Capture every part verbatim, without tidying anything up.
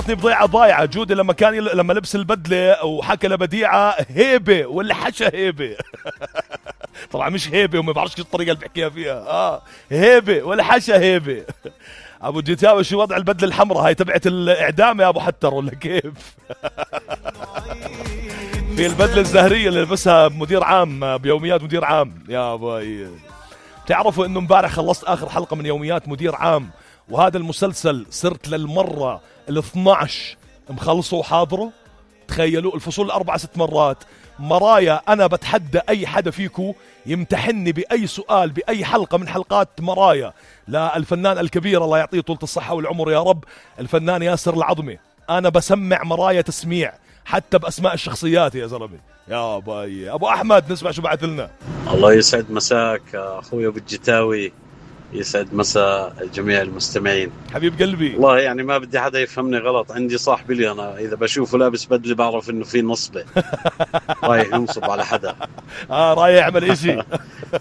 تعرفني بضيعة ضايعة جودي لما كان يل... لما لبس البدلة وحكى لبديعة هيبة ولا حشا هيبة. طبعا مش هيبة وما بعرفش الطريقة اللي بحكيها فيها. اه هيبة ولا حشا هيبة. ابو جيتاوي شو وضع البدلة الحمراء هاي تبعت الاعدام يا ابو حتر ولا كيف؟ في البدلة الزهرية اللي لبسها مدير عام بيوميات مدير عام. يا باي تعرفوا انه امبارح خلصت اخر حلقة من يوميات مدير عام، وهذا المسلسل صرت للمرة الاثناعش مخلصه وحاضره. تخيلوا الفصول الاربعة ست مرات. مرايا انا بتحدى اي حدا فيكو يمتحني باي سؤال باي حلقة من حلقات مرايا. لا الفنان الكبير الله يعطيه طولة الصحة والعمر يا رب، الفنان ياسر العظمي، انا بسمع مرايا تسميع حتى باسماء الشخصيات يا زلمه. يا باي ابو احمد نسمع شو بعث لنا. الله يسعد مساك اخوي ابو الجتاوي، يسعد مساء جميع المستمعين. حبيب قلبي والله يعني ما بدي حدا يفهمني غلط، عندي صاحبي لي انا اذا بشوفه لابس بدله بعرف انه في نصبه رايح ينصب على حدا. اه رايح يعمل اشي.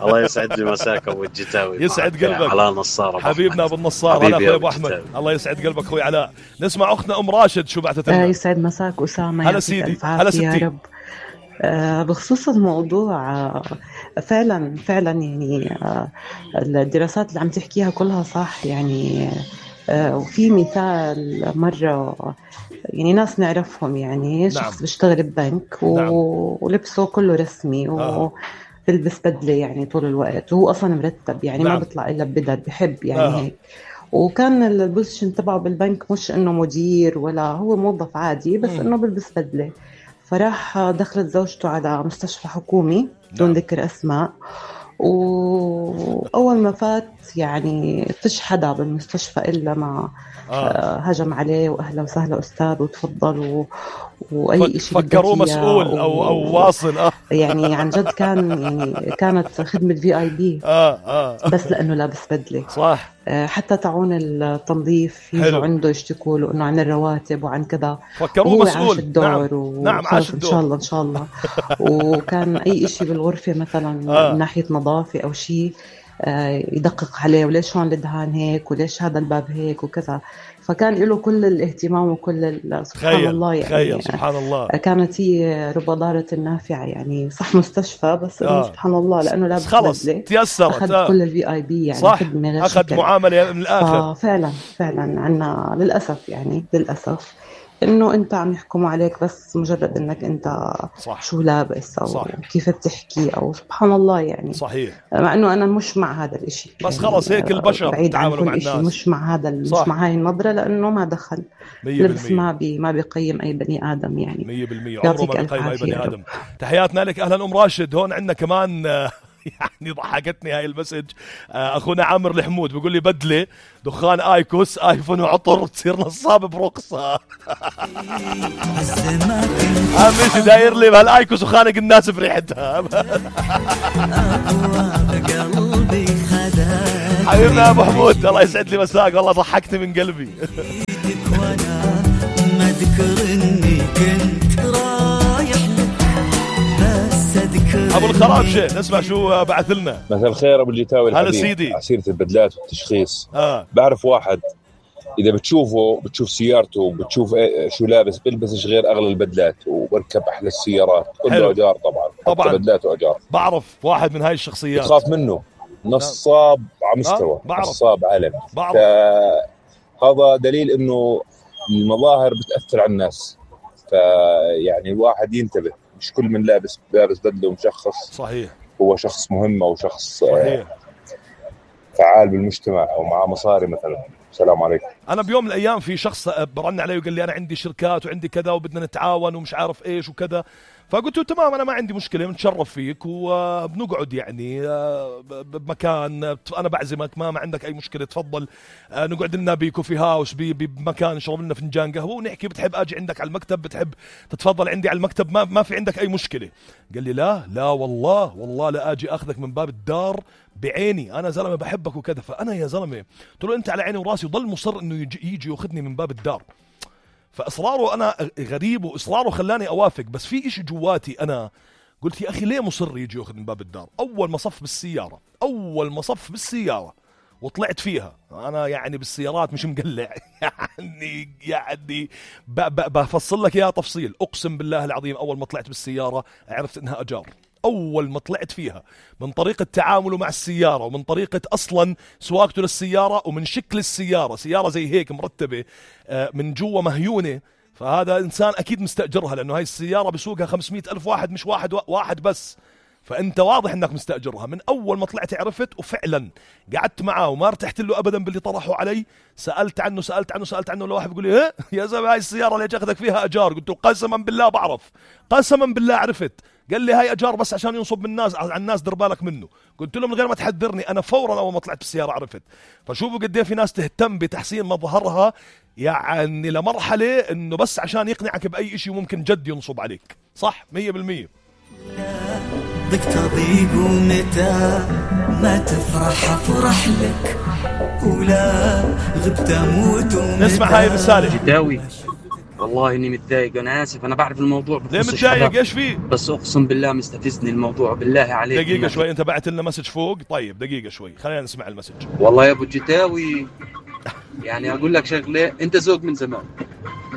الله يسعد لي مساك ابو الجتاوي، يسعد قلبك علاء نصار حبيبنا ابو النصار. هلا اخوي ابو احمد الله يسعد قلبك اخوي علاء. نسمع اختنا ام راشد شو بعثت لنا. آه يسعد مساك اسامه. هلا سيدي هلا ستي. يا رب. آه بخصوص الموضوع آه فعلا فعلا يعني آه الدراسات اللي عم تحكيها كلها صح يعني. آه وفي مثال مرة يعني ناس نعرفهم يعني شخص نعم. بيشتغل ببنك و... نعم. ولبسه كله رسمي و... آه. بلبس بدلة يعني طول الوقت وهو أصلا مرتب يعني نعم. ما بيطلع إلا ببدل بحب يعني آه. هيك. وكان البوزيشن تبعه بالبنك مش إنه مدير ولا هو موظف عادي بس م. إنه بلبس بدلة. فراح دخلت زوجته على مستشفى حكومي بدون ذكر أسماء، وأول ما فات يعني فيش حدا بالمستشفى إلا ما آه. هجم عليه وأهلا وسهلا أستاذ وتفضل و... وأي شيء فكروا مسؤول و... أو أو واصل آه. يعني عن جد كان يعني كانت خدمة في آي بي آه آه. بس لأنه لابس بدلة صح. حتى تعون التنظيف يجوا عنده يشتكوا له انه عن الرواتب وعن كذا. فكروه مسؤول. عاش الدور نعم. و... نعم عاش الدور ان شاء الله ان شاء الله. وكان اي شيء بالغرفه مثلا آه. من ناحيه نظافه او شيء يدقق عليه وليش هون الدهان هيك وليش هذا الباب هيك وكذا. فكان له كل الاهتمام وكل سبحان خير. الله يعني خير. سبحان الله. كانت هي رب ضارة النافعة يعني صح مستشفى بس آه. سبحان الله لأنه لابس خلص تيسرت أخذ آه. كل الفي آي بي يعني صح أخذ معاملة من الآخر. آه فعلا فعلا عنا للأسف يعني للأسف إنه أنت عم يحكموا عليك بس مجرد إنك أنت صح. شو لابس أو صح. كيف بتحكي أو سبحان الله يعني صحيح. مع إنه أنا مش مع هذا الإشي بس يعني خلص هيك البشر بيتعاملوا مع الناس مش مع هذا مش مع هاي النظرة لأنه ما دخل لبس ما بي ما بيقيم أي بني آدم يعني مية بالمية عمره ما بيقيم أي بني آدم. تحياتنا لك أهلا أم راشد. هون عندنا كمان يعني ضحكتني هاي المسج اخونا عامر الحمود بيقول لي بدله دخان ايكوس ايفون وعطر تصير نصاب برقصه. عمي داير لي بهالايكوس وخانق الناس بريحتها. حبيبنا ابو حمود الله يسعد لي مساك والله ضحكتني من قلبي. ما ذكر اني كنت رايح ابو الخرابشه نسمع شو بعث لنا. مساء الخير ابو الجتاوي هلا سيدي. عسيرة البدلات والتشخيص. آه. بعرف واحد اذا بتشوفه بتشوف سيارته بتشوف شو لابس بيلبسش غير اغلى البدلات وبركب احلى السيارات كله اجار طبعا طبعا بدلات واجار. بعرف واحد من هاي الشخصيات بتخاف منه نصاب على مستوى آه. نصاب عالمي. هذا دليل انه المظاهر بتاثر على الناس فيعني الواحد ينتبه مش كل من لابس لابس بدله ومشخص صحيح هو شخص مهم او شخص صحيح. فعال بالمجتمع او معاه مصاري مثلا. السلام عليكم. انا بيوم من الايام في شخص برن علي وقال لي انا عندي شركات وعندي كذا وبدنا نتعاون ومش عارف ايش وكذا. فقلت له تمام انا ما عندي مشكله بنتشرف فيك وبنقعد يعني بمكان انا بعزمك ما ما عندك اي مشكله تفضل نقعد لنا بكوفي هاوس بمكان نشرب لنا فنجان قهوه ونحكي بتحب اجي عندك على المكتب بتحب تتفضل عندي على المكتب ما ما في عندك اي مشكله. قال لي لا لا والله والله لا اجي اخذك من باب الدار بعيني انا زلمه بحبك وكذا. فانا يا زلمه قلت له انت على عيني وراسي وضل مصر انه يجي, يجي ياخذني من باب الدار. فاصراره انا غريب واصراره خلاني اوافق بس في اشي جواتي انا قلت يا اخي ليه مصر يجي ياخذ من باب الدار. اول ما صف بالسياره اول ما صف بالسياره وطلعت فيها. أنا يعني بالسيارات مش مقلع يعني يعني بفصل لك إياها تفصيل. أقسم بالله العظيم أول ما طلعت بالسيارة عرفت إنها أجار. أول ما طلعت فيها من طريقة تعامله مع السيارة ومن طريقة أصلا سواقته للسيارة ومن شكل السيارة، سيارة زي هيك مرتبة من جوا مهيونة، فهذا إنسان أكيد مستأجرها، لأنه هاي السيارة بسوقها خمسمائة ألف واحد مش واحد واحد بس، فأنت واضح أنك مستأجرها. من أول ما طلعت عرفت، وفعلا قعدت معه وما ارتحت له أبدا باللي طرحوا علي. سألت عنه سألت عنه سألت عنه لواحد بيقول لي: يا زلمة هاي السيارة ليش أخذك فيها أجار؟ قلت له: قسما بالله بعرف، قسما بالله عرفت. قال لي: هاي أجار بس عشان ينصب من الناس على الناس، دير بالك منه. قلت له: من غير ما تحذرني أنا فورا أول ما طلعت بالسيارة عرفت. فشوفوا قد ايه في ناس تهتم بتحسين مظهرها، يعني لمرحلة إنه بس عشان يقنعك بأي إشي ممكن جد ينصب عليك. صح مية بالمية. بدك تضيق ومتى ما تفرح افرح لك، ولا غبت اموت ومتى. نسمع هاي الرسالة. جداوي والله اني متضايق، انا اسف، انا بعرف الموضوع ليه متضايق؟ ايش فيه؟ بس اقسم بالله مستفزني الموضوع، بالله عليك. دقيقة شوي، انت بعت لنا مسج فوق. طيب دقيقة شوي خلينا نسمع المسج. والله يا ابو جداوي يعني اقول لك شغله، انت زوج من زمان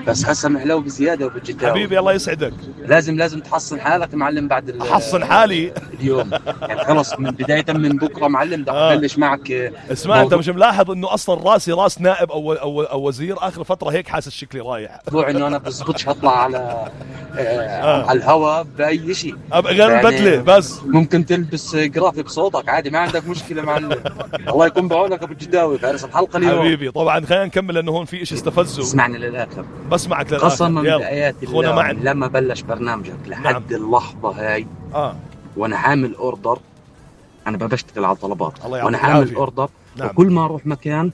بس هسه محلو بزياده ابو جداوي. حبيبي الله يسعدك. لازم لازم تحصن حالك معلم بعد احصن حالي اليوم يعني خلص من بدايه من بكره معلم بدي ابلش معك. اسمع انت مش ملاحظ انه اصلا راسي راس نائب او او, أو وزير؟ اخر فتره هيك حاسس شكلي رايح. موضوع انه انا بزبطش هطلع على آه آه. على الهواء باي شيء، ابقى غير يعني بدله بس ممكن تلبس جرافيك بصوتك عادي، ما عندك مشكله معلم. الله يكون بعونك ابو جداوي، فارس الحلقه اليوم حبيبي. طبعا خلينا نكمل لانه هون في شيء استفزه. اسمعني للاخر، بسمعك للاخر. قسما بآيات الله معن. لما بلش برنامجك لحد نعم. اللحظه هاي اه وانا حامل اوردر، انا بشتغل على طلبات وانا حامل العافية. اوردر نعم. وكل ما اروح مكان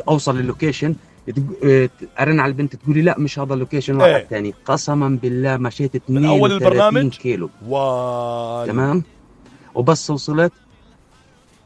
اوصل للوكيشن ارن على البنت تقول لي لا مش هذا اللوكيشن واحد ايه. ثاني. قسما بالله مشيت اثنين وثلاثين كيلو و... تمام، وبس وصلت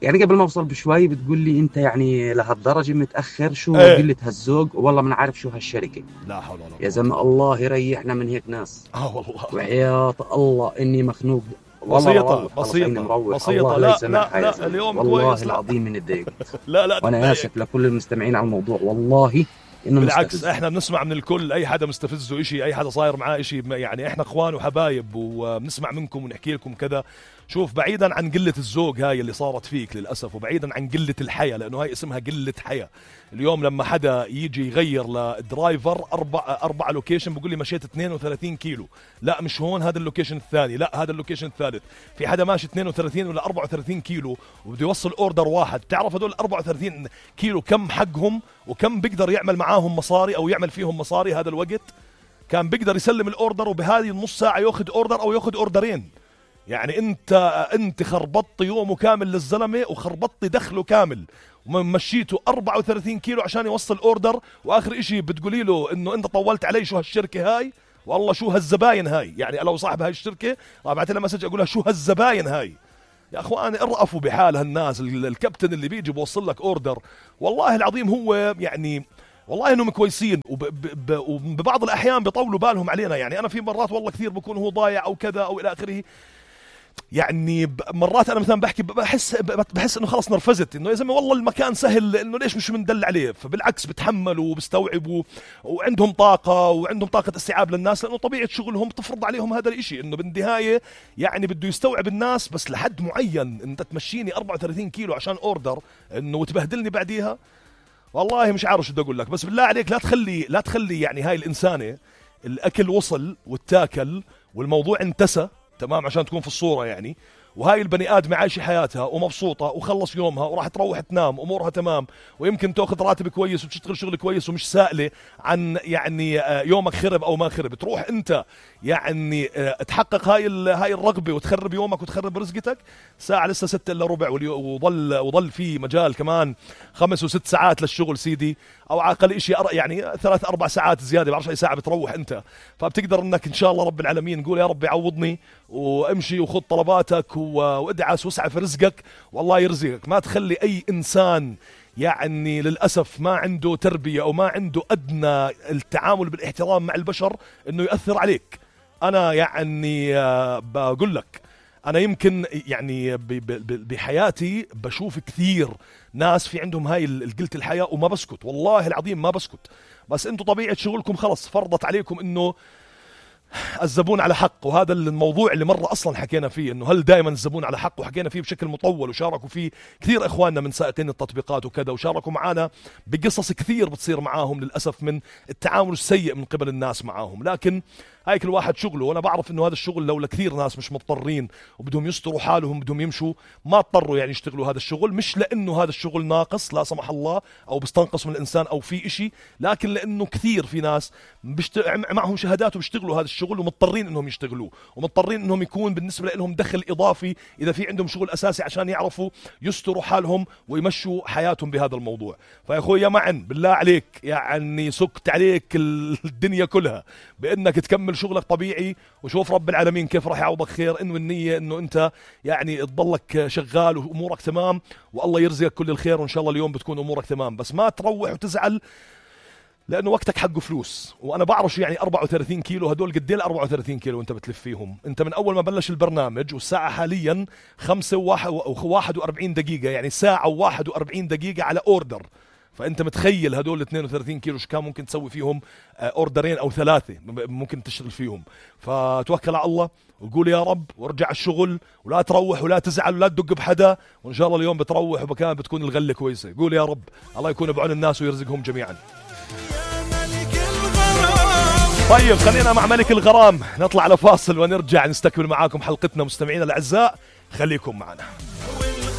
يعني قبل ما اوصل بشوي بتقول لي انت يعني لهالدرجه متاخر، شو ايه. قله هالذوق، والله ما نعرف شو هالشركه. لا حول ولا قوه يا زلمه الله يريحنا من هيك ناس. اه والله وحياة الله اني مخنوق. بسيطة بسيطة بسيطة. لا لا لا اليوم والله كويس. العظيم من الضيق. لا لا وانا اسف لكل المستمعين على الموضوع، والله انه بالعكس مستفز. احنا بنسمع من الكل، اي حدا مستفزه اشي، اي حدا صاير معاه اشي، يعني احنا اخوان وحبايب وبنسمع منكم ونحكي لكم كذا. شوف بعيدا عن قلة الذوق هاي اللي صارت فيك للأسف، وبعيدا عن قلة الحياة، لأنه هاي اسمها قلة حياة. اليوم لما حدا يجي يغير للدرايفر أربع أربع لوكيشن بقول لي مشيت اثنين وثلاثين كيلو، لا مش هون، هذا اللوكيشن الثاني، لا هذا اللوكيشن الثالث. في حدا ماشي اثنين وثلاثين ولا أربعة وثلاثين كيلو وبده يوصل أوردر واحد. تعرف هدول أربعة وثلاثين كيلو كم حقهم وكم بيقدر يعمل معاهم مصاري أو يعمل فيهم مصاري؟ هذا الوقت كان بيقدر يسلم الأوردر وبهذه النص ساعة يأخذ أوردر أو يأخذ أوردرين. يعني انت انت خربطت يومه كامل للزلمه وخربطت دخله كامل، ومشيته أربعة وثلاثين كيلو عشان يوصل اوردر، واخر اشي بتقولي له انه انت طولت علي. شو هالشركه هاي؟ والله شو هالزباين هاي؟ يعني لو صاحب هاي الشركه بعت لها مسج اقول لها شو هالزباين هاي؟ يا اخواني ارقفوا بحال هالناس. الكابتن اللي بيجي بوصل لك اوردر والله العظيم هو يعني والله انهم كويسين، وببعض الاحيان بيطولوا بالهم علينا. يعني انا في مرات والله كثير بكون هو ضايع او كذا او الى اخره، يعني مرات انا مثلا بحكي بحس بحس انه خلص نرفزت، انه يا زلمه والله المكان سهل، انه ليش مش مندل عليه؟ فبالعكس بتحملوا وبستوعبوا وعندهم طاقه وعندهم طاقه استيعاب للناس، لانه طبيعه شغلهم تفرض عليهم هذا الاشي. انه بالنهايه يعني بده يستوعب الناس بس لحد معين. انت تمشيني أربعة وثلاثين كيلو عشان اوردر انه وتبهدلني بعديها، والله مش عارف شو بدي اقول لك. بس بالله عليك لا تخلي لا تخلي يعني هاي الانسانه الاكل وصل والتاكل والموضوع انتسى تمام عشان تكون في الصورة يعني، وهاي البني آدم عايشة حياتها ومبسوطة وخلص يومها وراح تروح تنام أمورها تمام، ويمكن تأخذ راتب كويس وتشتغل شغل كويس ومش سائلة عن يعني يومك خرب أو ما خرب. تروح أنت يعني تحقق هاي هاي الرغبة وتخرب يومك وتخرب رزقتك. ساعة لسه ستة إلا ربع وظل وظل في مجال كمان خمس وست ساعات للشغل سيدي، أو عقل إشي يعني ثلاث أربع ساعات زيادة، بعرفش أي ساعة بتروح أنت. فبتقدر إنك إن شاء الله رب العالمين قول يا رب يعوضني وامشي وخذ طلباتك وادعس واسعى في رزقك والله يرزقك. ما تخلي أي إنسان يعني للأسف ما عنده تربية أو ما عنده أدنى التعامل بالاحترام مع البشر إنه يؤثر عليك. أنا يعني بقول لك أنا يمكن يعني بحياتي بشوف كثير ناس في عندهم هاي القلة الحياة وما بسكت، والله العظيم ما بسكت. بس أنتوا طبيعة شغلكم خلص فرضت عليكم إنه الزبون على حق، وهذا الموضوع اللي مرة أصلا حكينا فيه، إنه هل دائما الزبون على حق، وحكينا فيه بشكل مطول وشاركوا فيه كثير إخواننا من سائقين التطبيقات وكذا، وشاركوا معنا بقصص كثير بتصير معاهم للأسف من التعامل السيء من قبل الناس معاهم. لكن هاي كل واحد شغله، وانا بعرف انه هذا الشغل لو لكثير ناس مش مضطرين وبدهم يستروا حالهم بدهم يمشوا ما اضطروا يعني يشتغلوا هذا الشغل، مش لانه هذا الشغل ناقص لا سمح الله او بيستنقص من الانسان او في اشي، لكن لانه كثير في ناس بشت... معهم شهادات وبيشتغلوا هذا الشغل ومضطرين انهم يشتغلوه، ومضطرين انهم يكون بالنسبه لهم دخل اضافي اذا في عندهم شغل اساسي عشان يعرفوا يستروا حالهم ويمشوا حياتهم بهذا الموضوع. فيا اخوي يا معن بالله عليك يعني سكت عليك الدنيا كلها بانك تكمل شغلك طبيعي، وشوف رب العالمين كيف راح يعوضك خير. انه النية انه انت يعني تضلك شغال وامورك تمام والله يرزقك كل الخير، وان شاء الله اليوم بتكون امورك تمام. بس ما تروح وتزعل لانه وقتك حقه فلوس. وانا بعرف شو يعني أربعة وثلاثين كيلو، هدول قد ايه أربعة وثلاثين كيلو وانت بتلف فيهم؟ انت من اول ما بلش البرنامج والساعه حاليا خمسة وواحد وأربعين دقيقه، يعني ساعه وواحد وأربعين دقيقه على اوردر. فانت متخيل هدول اثنين وثلاثين كيلو شو كان ممكن تسوي فيهم اوردرين او ثلاثه ممكن تشتغل فيهم. فتوكل على الله وقول يا رب وارجع الشغل، ولا تروح ولا تزعل ولا تدق بحدا، وان شاء الله اليوم بتروح وبكان بتكون الغله كويسه. قول يا رب الله يكون بعون الناس ويرزقهم جميعا. طيب خلينا مع ملك الغرام نطلع على فاصل ونرجع نستكمل معاكم حلقتنا مستمعينا الاعزاء، خليكم معنا.